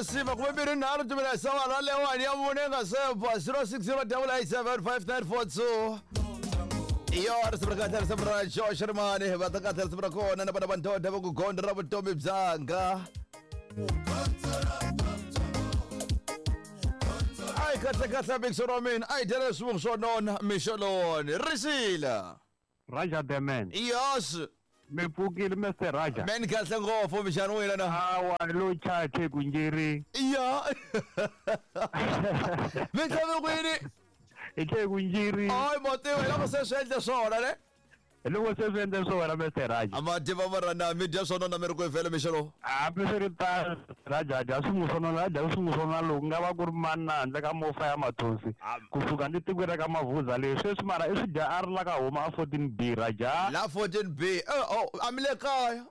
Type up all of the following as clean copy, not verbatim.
Siva 23 timina lewani ya mune nga sepa 0608875942. Iyo risimu ra kahle, risimu ra Josh Rimani va ta kahle, risimu ra kona na vana va ndoda va ku gondzo ra vutomi byanga. Ayi kahle kahle mixo ra mina, a yi dyela swivungu swo nona mixo lowoni risila. Raja the man. Yes. Mi pfukile Mr Raja. Men kahle ngopfu mixani wena na. Awa lo chache ku njiri. Ya. Mi tlhave kwini? Hi tlhe ku njiri. Hayi mativa hi loko se swi endle swona ne. Hi loko se swi endle swona Mr Raja. A ma tiva marana mi dya swona na mi ri ku vhele mixo lowu. Hambi swi ri tano Raja a dya swin'we swona a dya swin'we swona loku nga va ku ri mani na handle ka mofa ya mathonsi kusuka ni tikweni ra ka Mavuza leyi sweswi mara i swi dya a ri la ka huma a 14B Raja. La 14B. Eh oh a mi le kaya.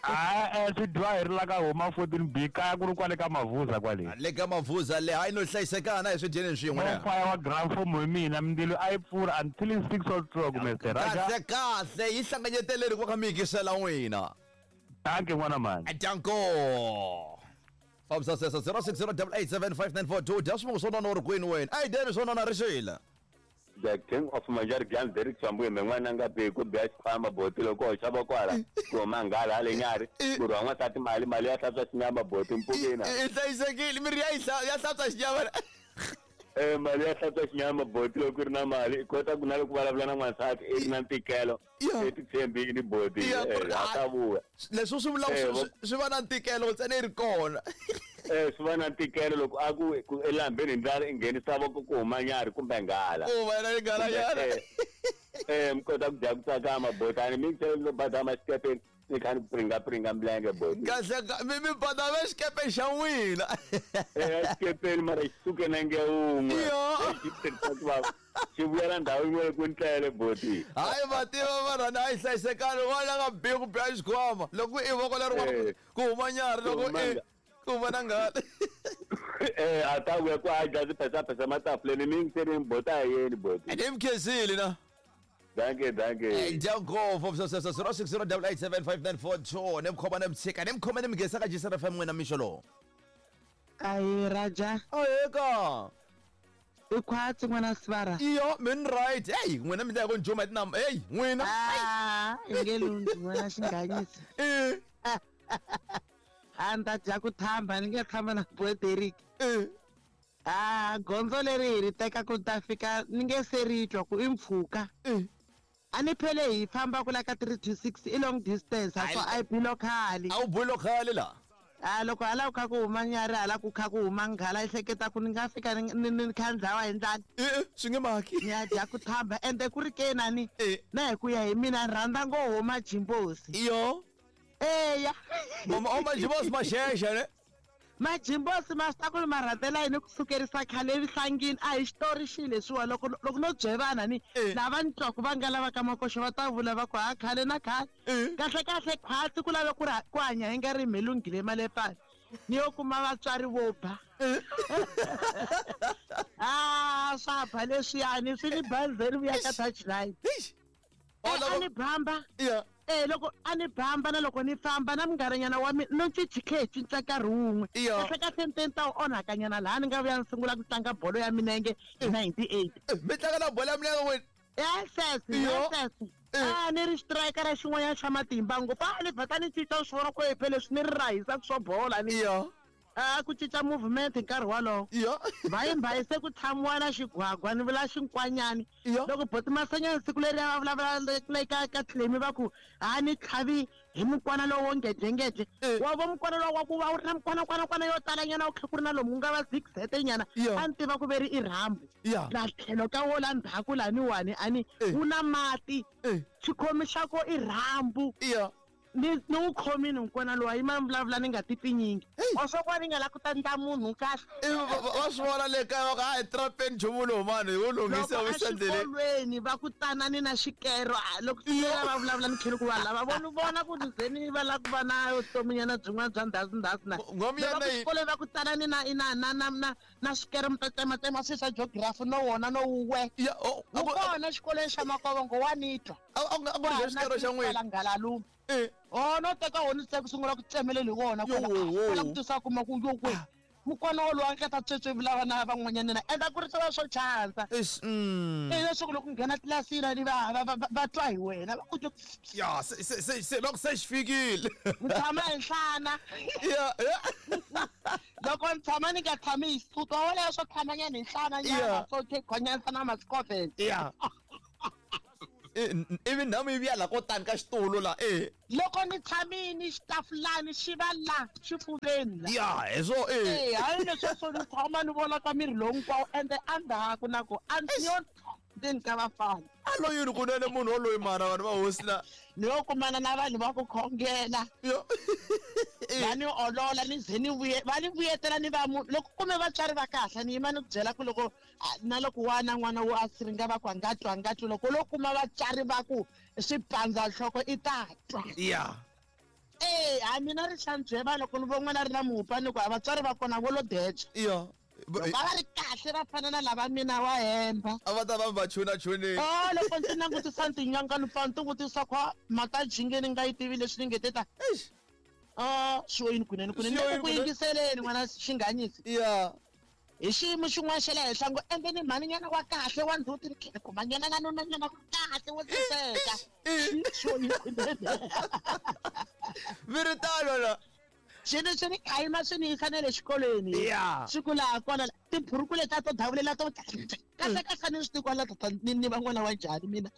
A swi dyiwa hi ri la ka huma 14B kaya ku ri kwale ka Mavuza kwale. Le ka Mavuza le hayi no hlayisekana hi swi dyeni swin'we ne. Mofa wa grand form hi mina mindzilo a yi pfula until 6 o'clock Mr Raja. Kahle kahle yi hlanganyeteleri ku ka mi yingisela n'wina. Danke n'wana mhani. Danko. Fambisa sesa 0608875942 dya swivungu swo nona u ri kwini wena? A yi dyeni swo nona rixila. The King of Manjarigani Derek Swambuye me n'wana nga be ku biya xikhwama boti loko hoxa voko hala ku huma nghala hale nyari ku rhwa n'wansati mali mali ya hlantswa xinyama boti mpfukina. I hlayisekile miri ya ya hlantswa xinyama. Eh mali ya hlantswa xinyama boti loko ri na mali i kota ku na loko vulavula na n'wansati i ri na ntikelo i ti tshembini boti a ta vuya. Leswi swi vula swi va na ntikelo ntsena yi ri kona. Eh swi va na ntikelo loko a ku ku elambeni hi ndlala i nghenisa voko ku huma nyarhi kumbe nghala. Ku huma yena nghala nyana. Eh mi kota ku dya ku tsakama botani mi ntsena lo badama xikepeni ni kha ni pringa pringa milenge boti. Kahle mi mi badama xikepeni xa n'wina. Eh xikepeni mara xi suke nenge wun'we. Yo. Xi vuyela ndhawu yin'we ku ntlele boti. Hayi mativa marhana a yi hlayisekani wona nga bihi ku biha xikhwama loko i voko leri ku huma nyarhi loko i ku huma na nghala. Eh a ta vuya ku a dya swiphesapesa matafuleni mi yingiseni boti a yeni boti. Ni mi khensile na. Danke danke. Dya ngopfu sweswo 0608875942 ni mi khoma ni mi tshika ni mi khoma ni mi nghenisa ka Jisara FM n'wina mixo lowu. Ahi Raja. Aheka. I khwatsi n'wana sivara. Iyo min right. Hey n'wina mi ta ku njuma hi tinamba. Hey n'wina. Ah, i nge lundzi n'wana xinghanyisa. Eh. A ni ta dya ku thamba ni nge tshama na boy Derek. Eh. Ah, gondzo leri hi ri teka ku ta fika ni nge se ri twa ku i mpfhuka. Eh. A ni phele hi famba ku la ka 3 to 6 i long distance a so a yi bilo khale. A wu bilo khale la. A loko hala ku kha ku huma nyarhi hala ku kha ku huma nghala i hleketa ku ni nga fika ni ni kha ni dlawa hi ndlala. Eh swi nge maki. Ni ya dya ku thamba ende ku ri ke nani Eh. na hi ku ya hi mina ni rhandza ngo huma jimbosi. Iyo. Eya. Mama o majimbosi maxexe ne. Majimbosi ma swi ta ku ma rhandzela yini ku sukerisa khale evuhlangini a hi xitori xi leswiwa loko loko no byevana ni Eh. lava ni twaku va nga lava ka makoxo va ta vula va ku ha khale na khale Eh. kahle kahle khwatsi ku lave ku ri ku hanya hi nga ri mhelunghile malepani ni yo kuma vatswari vo ba Eh. a swa ba leswiyani swi ni bazeni vuya ka touchline Eish. Eh, Oh, a loko ni bamba Yeah. Eh loko a ni bamba na loko ni famba na munghana wa mina no cinci khe hi cinca nkarhi wun'we Iyo. kahle kahle ni te ni ta wu onhakanyana laha ni nga vuya ni sungula ku tlanga bolo ya minenge hi 98 Eh, Mi tlanga na bolo ya milenge n'wina. yes Iyo. yes Eh. a ni ri xitirayika ra xin'wanyana xa matimba ngopfu a ni vhata ni cinca swi vona ku e phele swi ni ri rahisaka swo bola ni Iyo. a ku cinca movement hi nkarhi wolowo Iyo. mbayimbayi se ku tshamiwa na xigwagwa ni vula xinkwanyani Iyo. loko boti masanyana siku leri va vulavula le ka ka tlemi va ku ha ni tlhavi hi mukwana lowo ngedlengedle Eh. wa vo mukwana lowu wa ku va wu ri na mukwanakwanakwana yo talanyana wu kha ku ri na lomu ku nga va zigzete nyana Iyo. a ni tiva ku ve ri i rhambu Ya. la tlhelo ka wo la ndzhaku laniwani a ni Eh. wu na mati Eh. xikhomi xa ko i rhambu Iyo. ni ni wu khomini mukwana lowu yima ni vulavula ni nga ti pfinyingi Hey. wa swa ku va ni nga la ku ta ndla munhu kahle Eh, va swi vona le kaya va ku a hi trapeni nchumu lowu mani hi wu lunghise loko wu yisa endleleni. exikolweni va ku tanani na xikero a, loko xikero va vulavula ni tlhela ku va lava vona vona ku ni ze ni va lava ku va na vutominyana byin'wana bya ndhasi na Nghomi ya Loko na yi- xikolweni va ku tanani na na na na na na xikero mi ta tsematsema swilo swa geography no wona no wuwe Ya, oh, a wu ku- a- kona xikolweni xa makovongo wa ni twa a ku ri xikero xa n'wina. ngalalume Eh. o no teka wona se ku sungula ku tsemelela hi wona Yo, wo, wo. kwala ku tisa kuma ku yo kwe Mukwana wolowo a nga ta tswetswevula vana van'wanyana na endla ku ri swi va swo chansa. Eish. E leswaku loko nghena tlilasini ni va va va va twa hi wena va ku twa Ya se se se se va ku se xi fikile. Ni tshama hi nhlana. Ya ya. Loko ni tshama ni nga tshami hi sutu wa wena swo tshama nyana hi nhlana nyana swo khonyana na mascovens. Ya. Ivi nhamu yi vuya la ko tani ka xitulu la e. Loko ni tshamini xitafulani xi va la xifuveni la. Ya hi swo e. E hayi leswi swo ni tshama ni vona ka miri lowu hinkwawo ende endzhaku na ku a ni yo ndzeni ka vafana. A lo yini kunene munhu woloyi mara vanhu va hosi la. Ni yo kumana na vanhu va ku khongela. Yo. Va ni olola ni ze ni vuye va ni vuyetela ni va munhu loko kume vatswari va kahle ni yima ni ku byela ku loko na loko wana n'wana wo a siringa va ku a nga twa a nga twi loko lo kuma vatswari va ku swi pandza nhloko i ta twa. Ya. E ha mina ri xandzheva loko ni vo n'wana ri na mupa ni ku a vatswari va kona vo lo deja. Ya. Loko a va ri kahle va fana na lava mina wa hemba. A va ta va va chuna chunini. Oh loko ndzi langutisa tinyanga ni pfa ni ti vutisa ku mhaka jinge ni nga yi tivi leswi ni nge te ta. Eish. Ah swi yini kunene kunene Swi yini ku yingiseleni n'wana xinganyisi. Ya. Hi xiyimo xin'wana xa le henhla ngo ende ni mhaninyana wa kahle wa ndzhuti ni tlhela kumanyana na nunanyana wa kahle wo saseka. Swi yini kunene. Mi ri tano la. Swilo swi ni khayima swi ni yisa na le xikolweni. Ya. Swi ku laha kona tiburuku letiya to davulela to kahle kahle ni swi tivi kwala tata ni ni va n'wana wa njhani mina.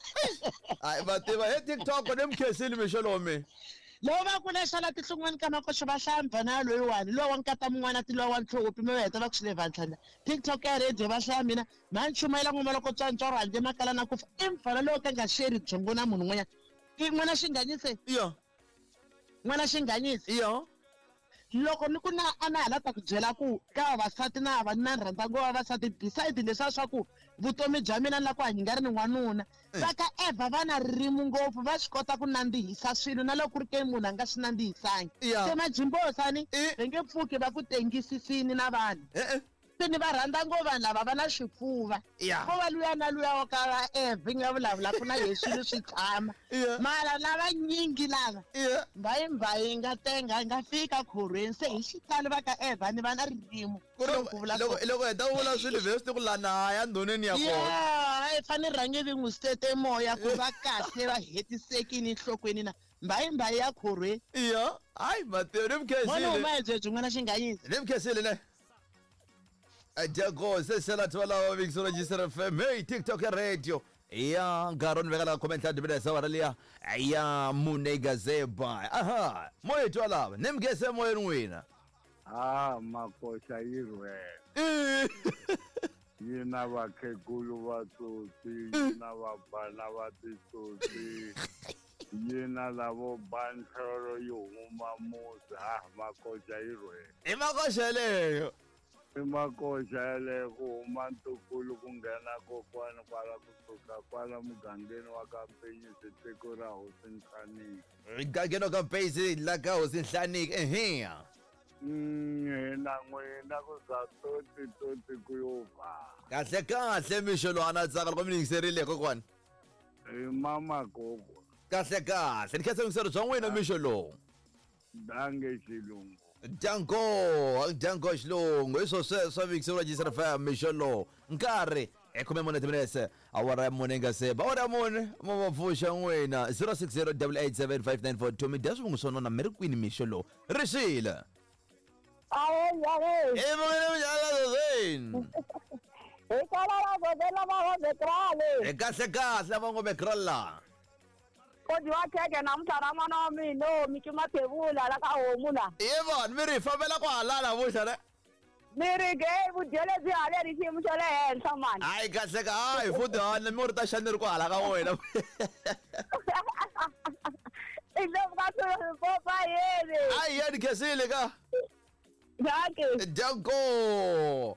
Hayi va tiva he TikTok ni mi khensile mixo lowu mi. Loko va ku lexo la tihlungwani ka makoxo va hlaya mvana loyiwani luwa wa nkata mun'wana ti luwa wa ntlhopi mi va heta va ku swi le vantlhana TikTok ya radio va hlaya mina mhani chumayela n'wama loko tswantswaro handle makala na ku fa i mfana lowo ka nga sheri byongo na munhu n'wanyana i n'wana xinganyise Iyo. N'wana xinganyise Iyo. Loko ni ku na a na ha la ta ku byela ku ka vavasati na va na rhandza ngo vavasati beside leswiya swa ku vutomi bya mina ni la ku hanya nga ri ni n'wanuna va ka Eva va na ririmi ngopfu va swi kota ku nandzihisa swilo na loko ku ri ke munhu a nga swi nandzihisangi se majimbosani va nge pfuki va ku tengisisini na vanhu Se ni va rhandza ngopfu vanhu lava va na xifuva. Ko va luya na luya wa ka va Eve nga vulavulaka na yehe swilo swi tshama. Mara lava nyingi lava mbayimbayi yi nga tenga yi nga fika khorhweni se hi xitalo va ka Eve ni va na ririmi. Loko loko heta u vula swilo vhe swi ku la na ya ndhoneni ya kona. Yeah, i fanele rhange vi n'wi sete moya ku va kahle va hetisekini enhlokweni na mbayimbayi ya khorhweni. Iya, hayi Mateo ni mi khensile. N'wana huma hi byebyo n'wana xinganyisi. Ni mi khensile ne. Jago se sela twala wa Big Register FM hey TikTok ya radio ya nkarhi ni veka la comment la dibida sawara liya ya mune gazeba aha moya twala ni mgese moyeni n'wina ha makoxa yi rhwele yi na vakhegulu va tsotsi yi na vabana va titsotsi yi na lavo ba nhlolo yi huma musi ha makoxa yi rhwele i makoxa yeleyo i makoxa yeleyo ku huma ntukulu ku nghena kokwani kwala kusuka kwala mugangeni wa ka Mpenyisi tiko ra hosi Nhlaniki mugangeni wa ka Mpenyisi la ka hosi Nhlaniki ehe Hina n'wina ku za toti toti ku yo va kahle kahle mixo lowu a na tsaka loko mi yingiserile kokwani hi mama gogo kahle kahle ni khensa yingiselo bya n'wina mixo lowu dange xilungu danko danko xilungu hi swo sweswo yingiselo ra FM mixo lowu nkarhi hi 14 timinetse awara ya mune nga se ba awara ya mune mo va pfuxa n'wina 060 887 5942 mi dya swivungu swo nona mi ri kwini mixo lowu ri xile Ahe, ahe. i vukile minjhani zozeni Hi kwala la gozela va Hobekrale. hi kahle kahle va ngo bekralla Ko dyiwa khekhe namuntlha ra n'wana wa mina o Miki Mathebula la ka homu la. ye vanhu mi ri fambela ku halala vuxa ne Mi ri ge vudyele byi haleri xiyimo xa le henhla mani. hayi kahle ka hayi futhi hana mi ri ta xani ri ku hala ka wena I ndlovu ka swilo popa yini. hayi ya ni khensile ka Dankie. Danko.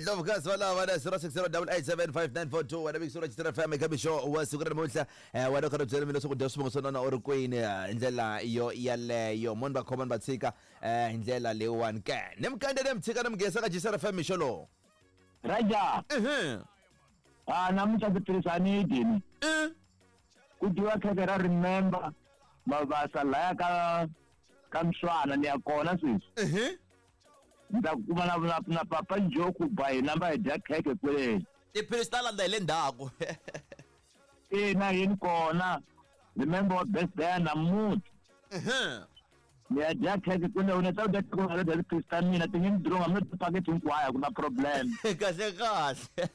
Ndlovukazi valava na 0608875942 wena vikisura chitira FM eka mixo wa siku ra namuntlha wena u karhi u byela mina leswaku dya swivongo swo nona u ri kwini hi ndlela yo yaleyo moni va khoma ni va tshika hi ndlela leyiwani ke ni mukande ni mi tshika ni mi nghenisa ka Jisara FM mixo lowu Raja a namuntlha ndzi tirhisa nidini ku dyiwa khekhe ra remember mavasa laya ka ka mswana ni ya kona sweswi Ni ta kuma na papa Njoku ba hi namba hi dya khekhe kwele. Tiphilisi ta landza hi le ndzhaku. Ina yini kona. Remember wa birthday ya namuntlha. Ni ya dya khekhe kwele u ni ta dya khekhe u dya tiphilisi ta mina ti nge ni dironga mi ti paketi hinkwayo ku na problem. Kahle kahle.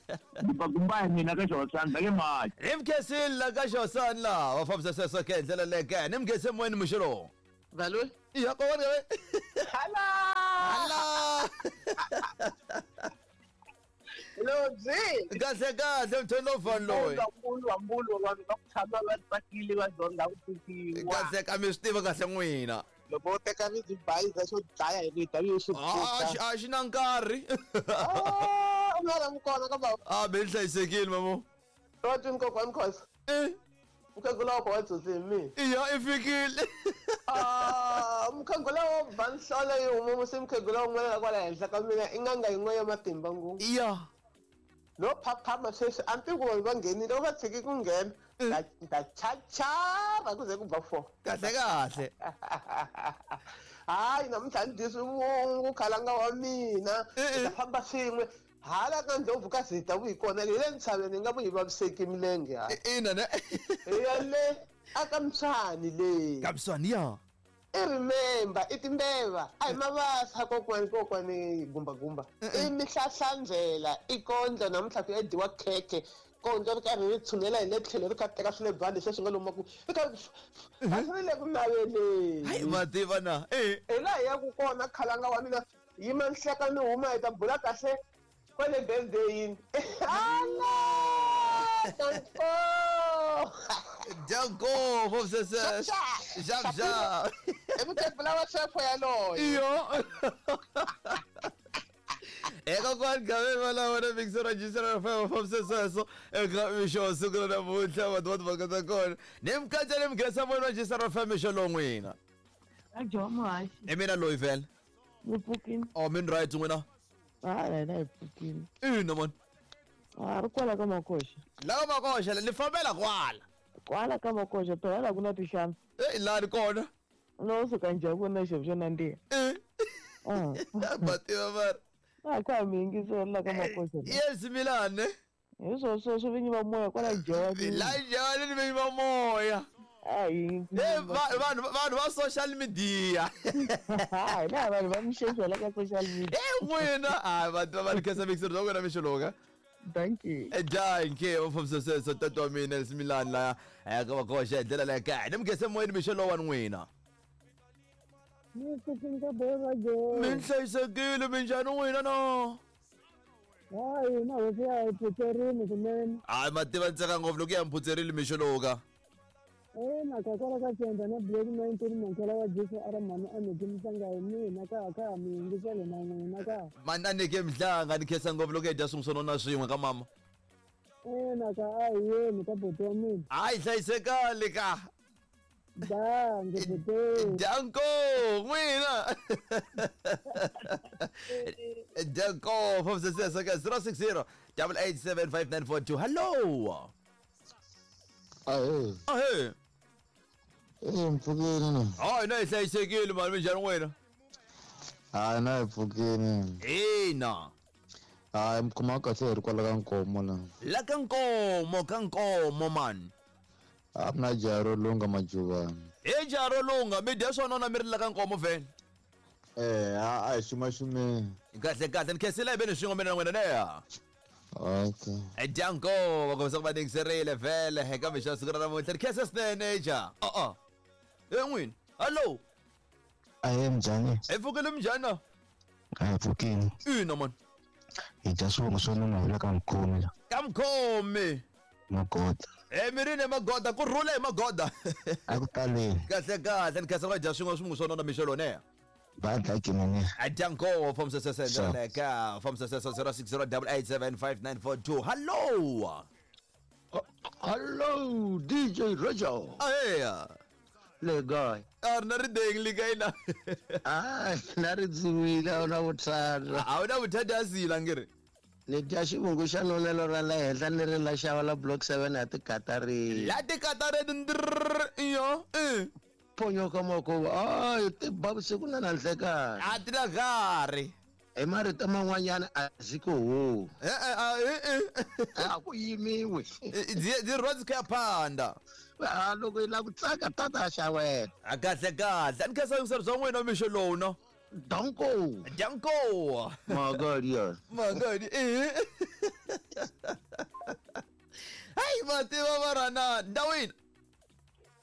Gumba hi mina ka xihosana va nge mali. Ni mi khensile la ka xihosana laha va fambisa sweswo ke hi ndlela leyo ke ni mi khense moyeni mixo lowu. Valwe. Ya kokwana ka Hala. Hala. Lobyi. Kahle kahle mthweni lowu fani loyi. Mbulu wa mbulu vanhu va ku tshama va tsakile va dyondza ku tiviwa. Kahle ka mi swi tiva kahle n'wina. Loko u teka rizibayiza xo dlaya hi rito yi xi A xi na nkarhi. Ah, u nga ri kona ka baba. A be ni hlayisekile mamo. Wa twini kokwani Khoza. Eh. Mukhegula wa wa tsotsi hi mina. Iya i fikile. Ah, mukhegula wo ba nhlolo yi huma musi mukhegula wun'wana la kwala henhla ka mina i n'anga yin'we ya matimba ngopfu. Iya. No phaphama sweswi a ni tivi ku vanhu va nghenile u va tshiki ku nghena. Ta chachava ku ze ku ba 4. Kahle kahle. Hayi namuntlha ni dyi swivungu khalanga wa mina. Hi ta famba swin'we. Hala ka ndlopfu ka zita vuyi kona hi le ntshaveni hi nga vuyi vaviseki milenge ha. Ina ne. Hi ya le aka Mswani le. Ka Mswani ya. I remember i timbeva a hi mavasa kokwani kokwani gumba gumba. I mihlahlandlela i kondlo namuntlha ku ya dyiwa khekhe kondlo ri karhi ri tshunela hi le tlhelo ri kha teka swi le bandi sweswi nga lomu ku ri kha a swi ri le ku naveleni. Hayi ma tiva na. Hi laha hi yaku kona khalanga wa mina yima nhleka ni huma hi ta bula kahle kwale birthday-ini. Hala! Danko! Danko, fofisese. Xap xap. I mukhegula wa xefo yaloye. Iyo. Eka kwani gaveni va lava na mixer register fa fofisese eka mixo siku ra namuntlha vanhu va timhaka ta kona. Ni mikatsa ni mikhensa vona register fa mixo lowu n'wina. Ajo muhaxi. I mina loyi vhele. Ni pfukile. Oh, min right n'wina. Hayi hina hi pfukile. Ina man. A ri kwala ka Makoxa. La ka Makoxa ni fambela kwala. Kwala ka Makoxa phela la ku na tinhlampfi. Eh la ri kona. No suka njhani ku na xo xo nandziha. Eh. Va tiva mara. A ka mi yingisela la ka Makoxa. Yes Milane. Hi swo sweswo vinyi va moya kwala Joni. La Joni ni vinyi va moya. Hayi. Eh vanhu vanhu va social media. Hayi na vanhu va mixexo la ka social media. Eh n'wina hayi vanhu va khensa mixer bya n'wina mixo lowu ka. Thank you. Dankie, va fambisa sweswo tata wa mina Smilani laya ka Makoxa hi ndlela leyo kahle. Ni mi khense moyeni mixo lowu wa n'wina. Ni pfukile ka boy Joni. Mi hlayisekile minjhani n'wina no? Hayi na hosi ya hi phutserini swinene. Hayi ma tiva ntseka ngopfu loko ya mi phutserile mixo lowu ka. Ina ka kwala ka Tsenda na Black 19 Mankhela wa Jesu a ri mhani a neke mhlanga hi mina ka ka mi yingisele na n'wina ka. Mhani a neke mhlanga ni khensa ngopfu loko hi dya swin'we swo nona swin'we ka mama. Ina ka a hi yeni ka buti wa mina. Hayi hlayisekani ka. Dankie buti. Danko n'wina. Danko fambisa ka 060 887 5942. Hello. Ahee. Ahee. Eh mpfukeni na. Hayi na hi hlayisekile mani minjhani n'wina? Hayi na hi pfukeni. Ina. Hayi mi khoma kahle hi ri kwala ka Nkomo la. La ka Nkomo ka Nkomo mani. A ku na jaha ro lunga Majuvani. He jaha ro lunga mi dya swo nona mi ri la ka Nkomo vhele. Eh a hi xumaxumeni. Kahle kahle ni khensile hi veni swin'we mina na n'wina neya. Okay. Danko va kombisa ku va ningiserile vhele eka mixo ya siku ra namuntlha ni khensa swinene ja. Uh-uh. E n'wini. Hello. Ahee minjhani? Hi pfukile minjhani na? A hi pfukile. Ina mani. Hi dya swivongo swo nona hi le ka Mkhomi la. Ka Mkhomi. Magoda. E mirini hi Magoda ku rhula hi Magoda. A ku taleni. Kahle kahle ni khensa ku va dya swin'we swivongo swo nona mixo lowu neya. Va dlaya gimini. Danko fambisa sweswo hi ndlela leyo ka fambisa sweswo 060 887 5942. Hello. Hello DJ Roger. Aheya. Le kae? A ri na rideng le kae na? Ah, na ri dzuwile a wu na vuthata. A wu na vuthata a sila ngiri. Ni dya xivungu xa nonelo ra le henhla ni ri la xava la block 7 ya tikatarini. La tikatarini ndrrr iyo. Eh. Ponyoka makuva. Ay, ti ba vusiku na na nhlekani. A ti na nkarhi. Hi marito man'wanyana a zwi ko ho. A ku yimiwi. Dzi rwa dzi khou ya phanḓa. A loko yi lava ku tsaka tata xa wena. A kahle kahle. A ni khensa yingiselo bya n'wina mixo lowu no. Danko. Danko. Magadi ya. Magadi. Eh. Hayi mativa varana ndawini.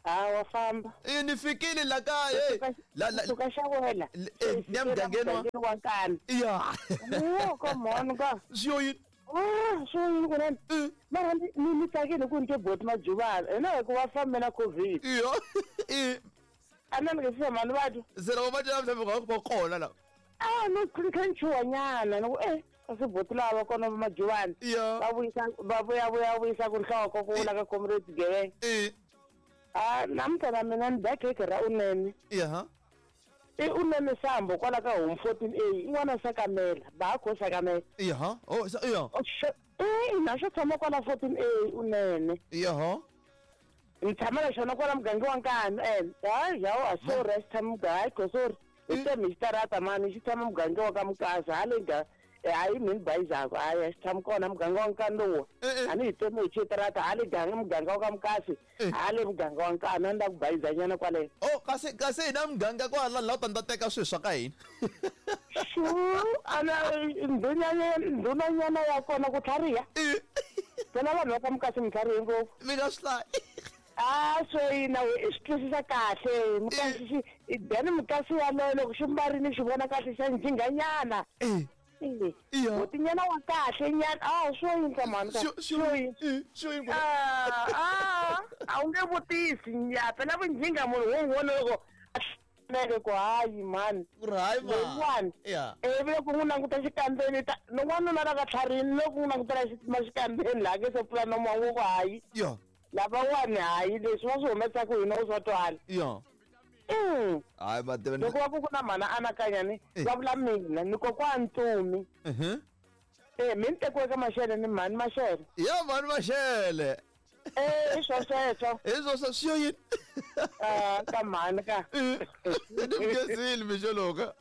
Ha wa famba. Eh ni fikile la kaya. La la suka xa wena. Eh ni mugangeni wa nkani. Ya. Oh, come on ka. Swi yini? Ah, swi yini kunene? Mara ni tsakile ku ni twe boti Majuvana. Hina hi ku va fambe na COVID. Iyo. Eh. A na ni nge se mani va twa. Se loko va twa mhlawumbe va va kona la. Ah, no kha ni chuha nyana ni ku eh kasi boti lava kona va Majuvana. Va vuyisa va vuya vuya vuyisa ku nhloko ku vula ka comrade Gevenga. Eh. Ah, namuntlha na mina ni dya khekhe ra unene. Ya. I unene sambo kwala ka home 14A in'wana sakamela ba kho sakamela. Ya. Oh, sa ya. Eh, ina xo tshama kwala 14A unene. Ya. Ni tshama na xona kwala muganga wa Nkanu ene. Hayi hawa sorry a xi tshama muganga hayi kho sorry. Hi teme hi xitarata mani xi tshama muganga wa ka Mukasa hale ga hayi mini bayizako hayi a xi tshami kona muganga wa Nkanu lowa. A ni hi teme hi xitarata hale ganga muganga wa ka Mukasi hale muganga wa Nkanu a ni la ku bayizanyana kwale. Oh kasi kasi hina muganga kwala la u ta ni ta teka swilo swa ka hina. Xu ana ndhunanyana ya kona ku tlhariha. Phela vanhu va ka Mukasi mi tlharihe ngopfu. Mi nga swi hlayi. Ah swo yina i swi twisisa kahle Mukasi xi then Mukasi yaloye loko xi mbarile xi vona kahle xa njhinganyana. Botinyana wa kahle nyana ah swo yini mhani ka swo yini swo yini ah ah a wu nge vutisi ya phela vunjhinga munhu wo n'wi vona loko neke ku hayi mhani hayi lowuwani ivi loko n'wi languta xikambeni ta n'wanuna la ka tlharini loko n'wi langutela xikambeni laha ke se pfula nomu wa n'wi ku hayi lavawani hayi leswi va swi humesaka hina u swa twala hayi mativa loko va ku ku na mhana anakanya ni va vula mina ni kokwana Ntumi. Eh mi ni tekiwe ka Maxele ni mhani Maxele. Ya mhani Maxele. Eh i swo sweswo. I swo sweswo swi yo yini? Ah ka mhani ka. Ni mugezile mixo lowu.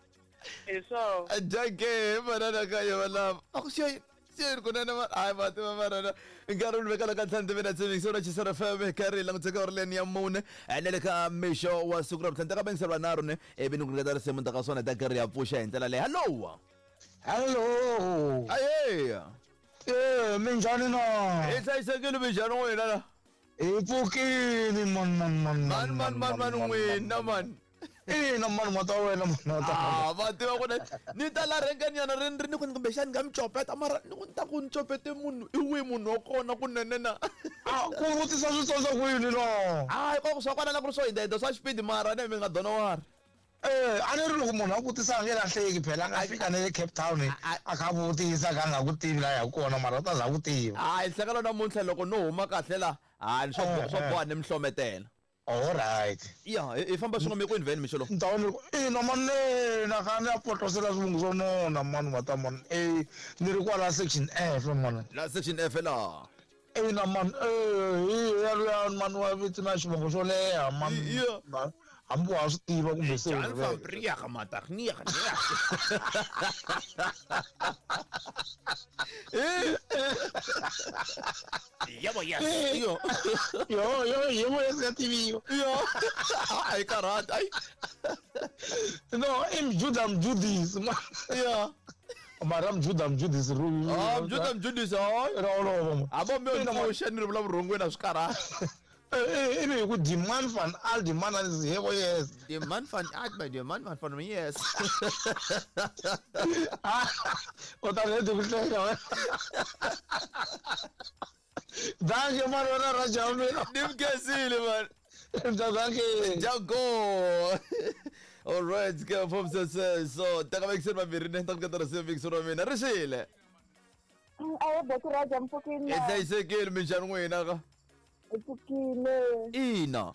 Hi swo. Jake manana ka yo lava. A ku swi yo yini? Swi kunene hayi mativa marana nkarhi wu vekela ka ntlhanu timina tshembi sona Chisara FM karhi languteka uri leni ya mune na le ka mixo wa siku ra vutlhanu ta ka bengiselo vanharhu ne ivi ni ku nyiketa risimu ta ka swona ta karhi ya pfuxa hi ndlela leyi. Hallo. Hello. Aye. Eh minjhani na? Hi hlayisekile minjhani n'wina la? Hi pfukile man man man man man man man n'wina man. Ina mani mata wena mani mata. Ah va tiva ku ni ta la rhenganyana ri ni ku kumbexani nga mi copeta mara ni ku ni ta ku ni copete munhu i wihi munhu wa kona kunene na. Ah ku vutisa swi tsandza ku yini no? Hayi ko swa kona na ku ri swo hindza swa xipidi mara ne mi nga dona wari. Eh a ni ri loko munhu a vutisa a nge lahleki phela a nga fika na le Cape Town a kha vutisa ka nga ku tivi la ya kona mara u ta za ku tiva. Hayi nhlekelo namuntlha loko no huma kahle la hayi swo swo boha ni mi hlometela. All right. Ya, hi famba swin'we mi kwini vheni mixo lowu. Ndhawu ina mani na kha ni ya potlosela swivungu swo nona mani mata mani eh ni ri kwala section F mani. La section F la. Ina mani eh hi ya luya mani wa vito na xivongo xo leha mani. Hambi wa swi tiva kumbe se. Jan van Priya Matagnia. Yebo yes. Yo. Yo yo yebo yes ya tiviwa. Yo. Ai karata ai. No, im Judah Mjudis. Yeah. Mara Mjuda Mjudis ru. Ah, Mjuda Mjudis hayi. Ro ro. Abo mi pfuxa ni ri vula vurhongweni a swi karata. Ivi hi ku demand van al demand an yebo yes. Demand van al demand van yes. U ta redi ku hleka wena. Dankie man wena Raja mina. Ni mkhensile man. Dankie. Jago. All right, ke from so ta ka vekiseni vambirhi ne ta ku katara se vekiseni wa mina ri xile. Ayi boti Raja mpfukile. Hi hlayisekile minjhani n'wina ka? Hi pfukile. Ina.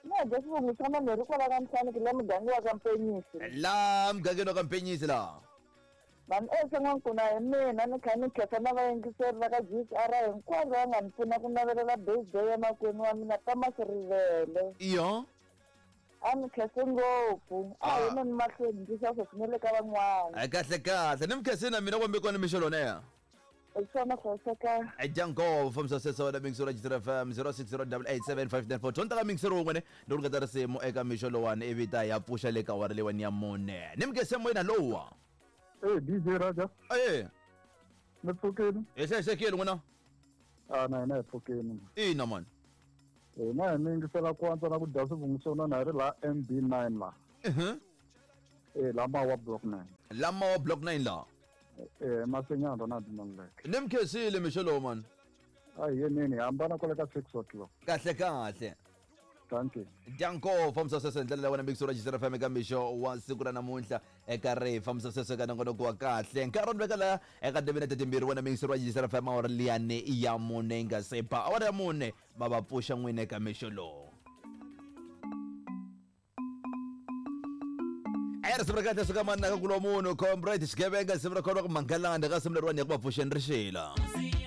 Na dya xivongo xa manhu ri kwala ka Mhlaniki la muganga wa ka Mpenyisi. La mugangeni wa ka Mpenyisi la. Vanhu ehenhla n'wankuna hi mina ni kha ni khensa na vayingiseri va ka GCR hinkwavo va nga ni pfuna ku navelela birthday ya makwenu wa mina Thomas Rivele. Iyo. A ni khense ngopfu. A hi yeni mahlweni ndzi xa sweswi ni le ka van'wana. Ai kahle kahle ni mi khensile na mina kumbe kona mixo lona. Hi swona hlayiseka. Dyango fambisa sweswo na mingisero ya FM 0608875942 tonta ka mingisero wun'we ne loko nga ta risimu eka mixo lowani ivi ta ya pfuxa le ka awara leyiwani ya mune ni mi moyeni lowa. Eh DJ Raja. Eh. Ni pfukile. Hi hlayisekile n'wina. Ah na hina hi pfukile. Ina mani. Hina hi mi yingisela ku antswa na ku dya swivungu swo nona hi ri laha MB9 laha. Eh la Mawa block 9. La Mawa block 9 la. Eh Masenyana Ronald Maluleke. Ni mi khensile mixo lowu mani. A hi yeneni hi hambana kwale ka 6 o'clock. Kahle kahle. Thank you. Dyango fambisa sweswo hi ndlela leyi wena mixo ra Jizera FM eka mixo wa siku ra namuntlha eka ri fambisa sweswo eka nongonoko wa kahle nkarhi wa veka laha eka timinete timbirhi wena mixo ra Jizera FM awara liyani ya mune yi nga se ba awara ya mune va va pfuxa n'wini eka mixo lowu. A risimu ra kahle suka manaka kulo munhu comrade xigevenga risimu ra khona ku mangalanda ka risimu leriwani ya ku va pfuxeni rixila.